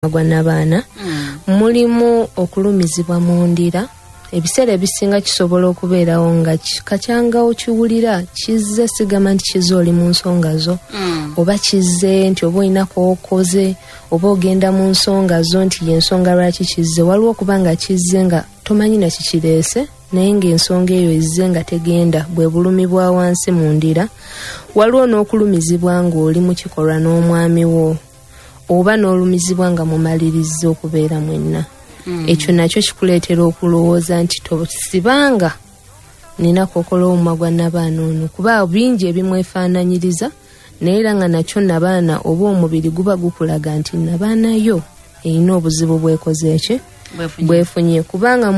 Gwa nabaana mulimu okulumizibwa mu ndira. Ebiseera ebisinga kisobola okubeerawo nga kacyangawo kiwulira kizze, sigamba nti kizze oli mu nsonga zo, oba kizze nti oba olina kookoze oba ogenda mu nsonga zo nti yensonga lwaki kizze. Waliwo okuba nga kizze nga tomanyi na kikireese, naye ng'ensonga eyo ezze nga tegenda, bwe bulumi bwa wansi mu ndira. Waliwo n'okulumizibwa ng'oli mu kikolwa n'omwami wo, oba n'olumizibwa nga mumalirizza okubeera mwenna. Ekyo nakyo kikuleetera okulowooza nti tosibanga nina kokola omumwa gwa nabaana ono, kuba bingi ebimwefaananyiriza, naye era nga nakyo nabaana oba omubiri guba gukulaga nti nabaana yo erina obuzibu bwekoze eki bwefunye. Kubanga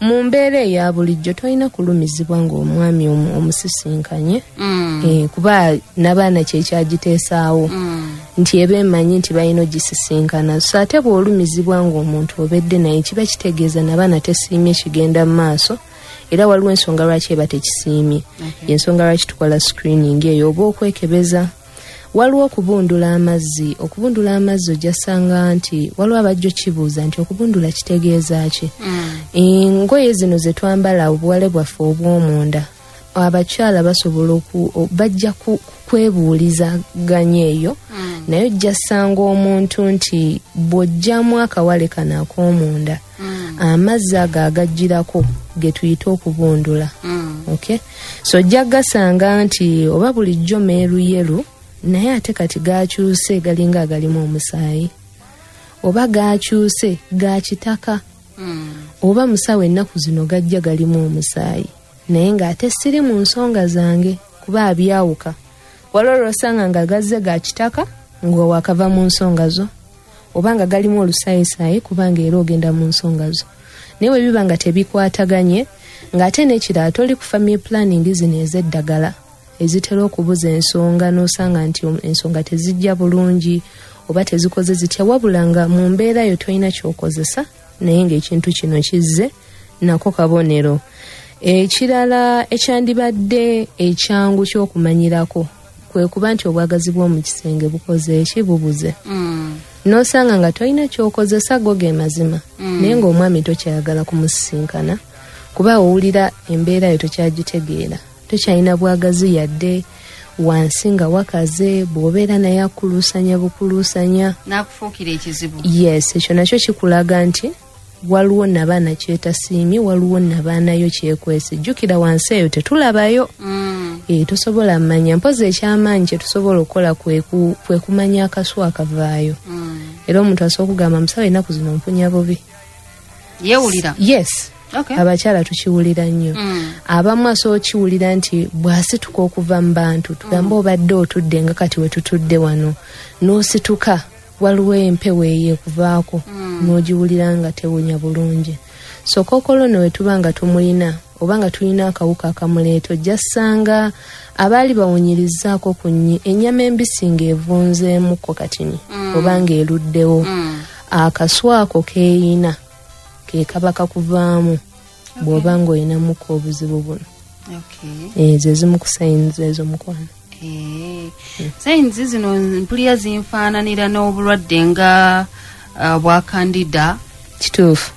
mu mbeera eya bulijjo tolina kulumizibwa ng'omwami omusisinkanye, kuba nabaana kyekyagiteesaawo nti eba emanyi nti balina ogisisinkana. So ate bw'olumizibwa ng'omuntu obedde naye, kiba kitegeeza nabaana tesiimye kigenda mu maaso, era waliwo ensonga lwaki eba tekisiimye. Yensonga lwaki tukola screening eyo oba okwekebeza. Waliwo okubundula amazzi. Okubundula amazzi ojasanga nti waliwo abajja okibuuza nti okubundula kitegeeza ki? Engoye zino ze twambala, obuwale bwaffe obw'omunda, abakyala basobola bajja kwebuulizaganya eyo, naye ojja sanga omuntu nti bw'ojjamu akawale kano ak'omunda, amazzi ago agajjirako ge tuyita okubundula. Okay, so ojja gasanga nti oba bulijjo meeruyeru, naye ate kati gakyuse galinga agalimu omusaayi, oba gakyuse ga kitaka, oba musawo ennaku zino gajja galimu omusaayi, naye ng'ate siri mu nsonga zange, kuba abyawuka. Waliwo lw'osanga nga gazze ga kitaka nga wakava mu nsonga zo, oba nga galimu olusaayisayi kubanga era ogenda mu nsonga zo. Naye bwe biba nga tebikwataganye, ng'ate n'ekirala toli ku family planning zino ez'eddagala ezitera okubuza ensonga, n'osanga nti ensonga tezijja bulungi oba tezikoze zitya, wabula nga mu mbeera yo tolina ky'okozesa, naye ng'ekintu kino kizze, nako kabonero. Ekirala ekyandibadde ekyangu ky'okumanyirako kwe kuba nti obwagazi bw'omu kisenge bukoze eki? Bubuze. N'osanga nga tolina ky'okozesa, go ge mazima, naye ng'omwami tokyayagala kumusisinkana, kuba owulira embeera yo tokyagitegeera, tokyalina bwagazi yadde wansi nga wakaze, bw'obeera naye akuluusanya bukuluusanya. Nakufuukira ekizibu. Yes, ekyo nakyo kikulaga nti waliwo nabaana kyetasiimye, waliwo nabaanayo kyekwese. Jjukira wansi eyo tetulabayo, tosobola mmanya. Mpozi ekyamaanyi kyetusobola okukola kwe kumanya akasu akavaayo. Era omuntu asobola okugamba, "Musawo, ennaku zino mpunya bubi." Yeewulira. Yes. Abakyala tukiwulira nnyo. Abamu asobola okiwulira nti bw'asituka okuva mu bantu, tugambe obadde otudde nga kati we tutudde wano, n'osituka, waliwo empewo eyo ekuvaako, n'ogiwulira nga tewunya bulungi. So kookolo no we tuba nga tumulina oba nga tulina akawuka akamuleeta, ojja ssanga abaali bawunyirizzaako ku ennyama embisi ng'evunzeemukko katini oba ng'eruddewo, akasu ako keeyina ke kaba kakuvaamu bw'oba ng'olinamuko obuzibu buno. Ezo ezimu ku signs ezo, mukwano. Signs zino mpulira zinfaananira n'obulwadde nga bwa candida. Kituufu.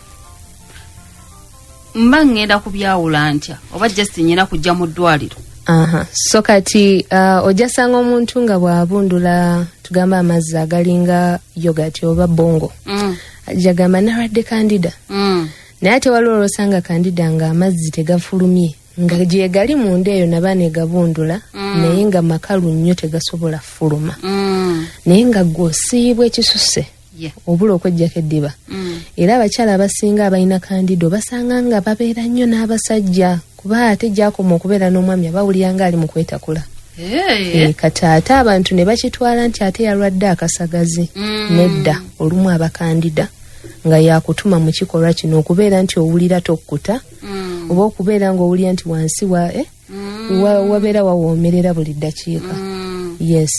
Mba ŋŋenda kubyawula ntya, oba just nyina kujja mu ddwaliro? Aha. So kati ojja sanga omuntu nga bw'abundula, tugamba amazzi agalinga yogurt oba bongo, ajja gamba nalwadde candida. Naye ate waliwo olwosanga candida nga amazzi tegafulumye, nga gye gali munda eyo nabaana egabundula, naye nga makalu nnyo, tegasobola fuluma, naye nga gw'osiibwa ekisuse, obula okweggyako eddiba. Era abakyala abasinga abalina candida obasanga nga babeera nnyo n'abasajja, kuba ate gyakoma okubeera n'omwami abawulira nga ali mu kwetakula. Kati ate abantu ne bakitwala nti ate yalwadde akasagazi. Nedda, olumu aba candida nga yakutuma mu kikolwa kino, okubeera nti owulira tokkuta, oba okubeera ng'owulira nti wansi wa, wabeera wawoomerera buli ddakiika. Yes,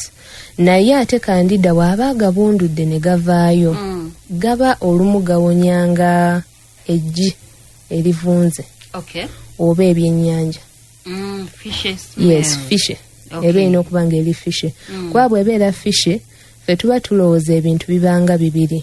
naye ate candida bw'aba agabundudde ne gavaayo, gaba olumu gawonyanga eggi erivunze oba ebyennyanja. Fishy smell. Yes, fishy. Eba erina okuba nga eri fishy, kuba bw'ebeera fishy, Ffe tuba tulowooza ebintu bibanga bibiri.